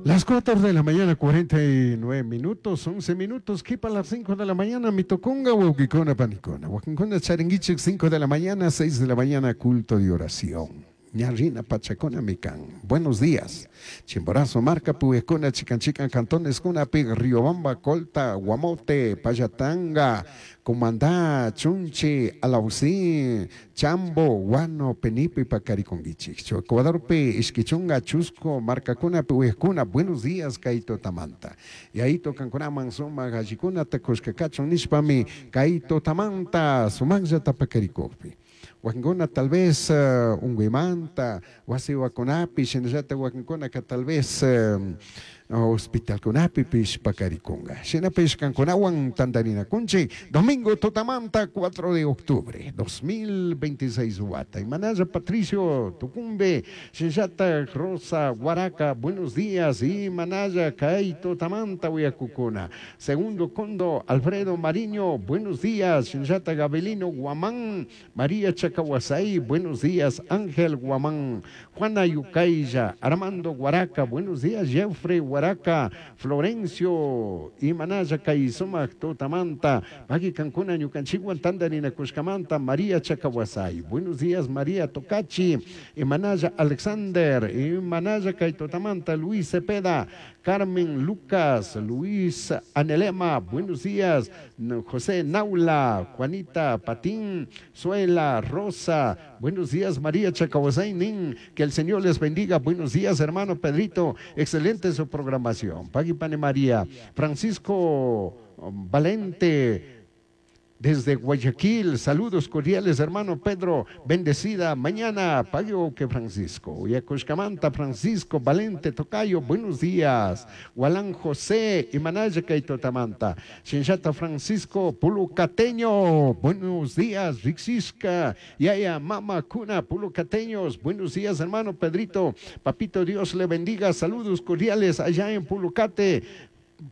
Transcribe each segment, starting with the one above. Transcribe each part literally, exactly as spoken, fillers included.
Las cuatro de la mañana, cuarenta y nueve minutos, once minutos, kipa las cinco de la mañana, mi tucunga, huauquicuna, panicuna. Huaquincuna charinguichik cinco de la mañana, seis de la mañana, culto de oración. Ñarrina pachacuna mikan. Buenos días. Chimborazo marca puekuna, chican chican cantones kuna pi, Riobamba, Colta, Guamote, Pallatanga, Cumandá, Chunchi, Alausí, Chambo, Guano, Penipe, Pacariconguichik. Ecuadorpi, Ishkichunga, Chusco, marcacuna puekuna. Buenos días, kay tutamanta. Y ahí tocancunaman suma gallicuna takushkakachun nishpami, kay tutamanta sumaqllata pakarikuqpi. Wakinkuna tal vez uh, unguymanta, wasiwakunapi, shinallata wakinkunaka tal vez uh, hospitalkunapipish pakarikunga. Shinapish kankunawan tantarinakunchik domingo tutamanta cuatro de octubre dos mil veintiséis wata. Imanalla Patricio Tucumbe, shinallata Rosa Guaraca, buenos días. Y manaya kay tutamanta uyakukuna. Segundo Condo, Alfredo Mariño, buenos días. Shinallata Gabelino Guamán, María Chacahuasay, buenos días. Ángel Guamán, Juana Yucaya, Armando Guaraca, buenos días. Jeffrey Guaraca, Florencio, Imanaya kay sumak tutamanta, Paki kankuna ñukanchikwan tantarinakushkamanta, María Chacahuasay, buenos días. María Tocachi, Imanaya Alexander, Imanaya kay tutamanta, Luis Cepeda, Carmen Lucas, Luis Anelema, buenos días. José Naula, Juanita Patín, Suela, Rosa, buenos días. María Chacahuasay, Nin, que el Señor les bendiga, buenos días, hermano Pedrito, excelente su programación. Pagui Pane María, Francisco Valente, desde Guayaquil, saludos cordiales, hermano Pedro, bendecida mañana, pago que Francisco. Yacushcamanta, Francisco, Valente, Tocayo, buenos días. Gualán José, Imanaya Kaitotamanta. Shinshata Francisco, Pulucateño, buenos días, Rixisca, Yaya, Mama Cuna, Pulucateños, buenos días, hermano Pedrito. Papito Dios le bendiga, saludos cordiales allá en Pulucate.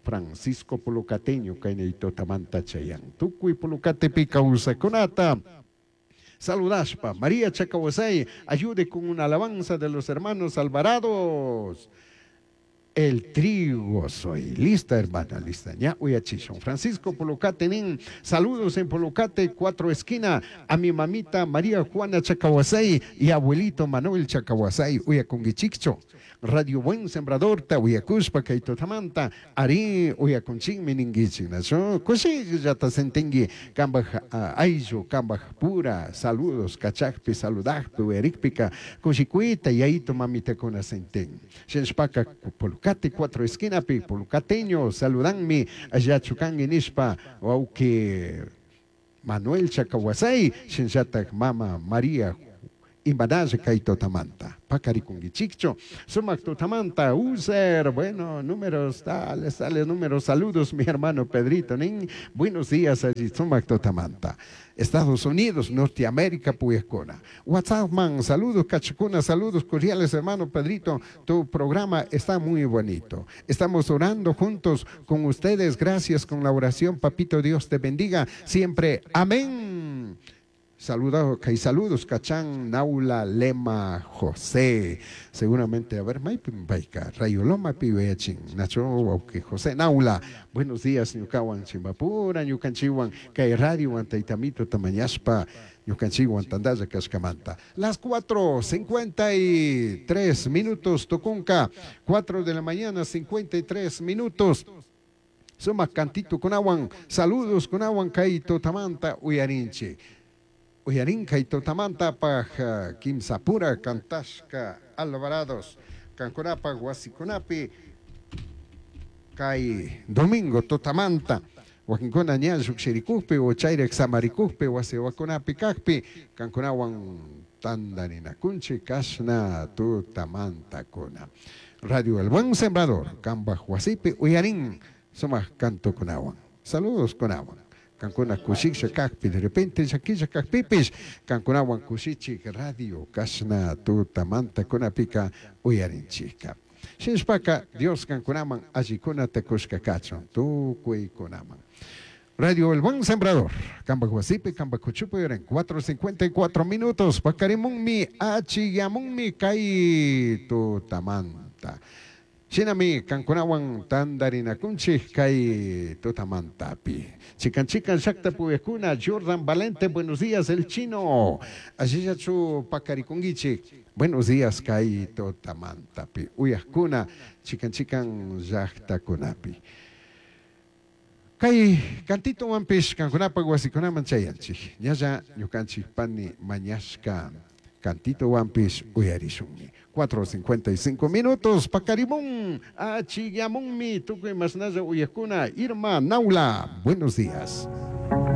Francisco Pulucateño, Kainitotamanta Chayan. Tukuy Pulucatepi kawsajcunata saludashpa. María Chacahuasay, ayude con una alabanza de los hermanos Alvarados. El trigo soy. Lista, hermana, lista. Ya, uyachishun. Francisco Pulucate, nin. Saludos en Pulucate, cuatro esquina. A mi mamita María Juana Chacahuasay y abuelito Manuel Chacahuasay. Uyakunguichikchu. Radio Buen Sembrador, ta uyakushpa, kay tutamanta. Ari, uyakunchikmi ninguichik. Nachu, kushillata sentingui. Kambaj ayllu, kambaj pura. Saludos, kachakpi, saludakpi, uyarikpika. Kushikuita, yaito mamitakuna sentin. Shinshpaka, Pulucate, cuatro esquinapi, pulucateño, saludanmi, allá chukangi nishpa, wauki Manuel Chacahuasay, shinllatak mama María Imanaya kay tutamanta. Pakarikunguichikchu. Sumak tutamanta, user, bueno, números, tales, tales, números, saludos, mi hermano Pedrito, nin. Buenos días allí, sumak tutamanta. Estados Unidos, Norteamérica, Puescona. WhatsApp man, saludos, cachacuna, saludos cordiales, hermano Pedrito. Tu programa está muy bonito. Estamos orando juntos con ustedes. Gracias con la oración, papito Dios te bendiga siempre. Amén. Saludos, y saludos, Cachán, Naula, Lema, José. Seguramente, a ver, Maypim Rayo Loma, Pibeachin, Nacho, José Naula. Buenos días, ñukawan, Chimbapura, ñukanchikwan, Kay Radio, Taitamito, Tamañaspa, ñukanchikwan, tandalla kashkamanta. Las cuatro cincuenta y tres minutos, tucunca, cuatro de la mañana, cincuenta y tres minutos. Suma cantito kunawan, saludos kunawan, kay tutamanta, uyarinchi. Uyarinka y tutamanta paj kimsapura cantashka Alvarados. Kankunapa wasikunapi kay domingo tutamanta. Wakinkuna ña llukshirikukpi o chayrak samarikukpi wasiwakunapi kakpi kankunawan tandarinakunchik kashna tutamantakuna. Radio El Buen Sembrador, kambaj wasipi uyarin sumak canto kunawan. Saludos kunawan. Kankuna kushiksha kakpi, de repente llakisha kakpipish, kankunawan kushichik radio kashna tutamanta kunapika uyarinchika. Shinshpaka Dios kankunaman allikunata kushka kachun, tukuykunaman. Radio El Buen Sembrador, kambaj wasipi, kambaj kuchupi uyarin, cuatro cincuenta y cuatro minutos, pakarimunmi, achiyamunmi, kay tutamanta. Shinami kankunawan tantarinakunchik kay tutamantapi. Chikan chikan llaqta puyakuna Jordan Valente, buenos días el chino. Allillachu pakarikunkichik. Buenos días kay tutamantapi. Uyakuna chikan chikan llaqtakunapi. Kay cantitowanpish kankunapaq wasikunaman chayanchik. Ñalla ñukanchik pani mañashka cantitowanpish uyarishunmi. cuatro cincuenta y cinco minutos, pakarimun, achigyamunmi, tukuy masnalla uyakuna, Irma Naula, buenos días.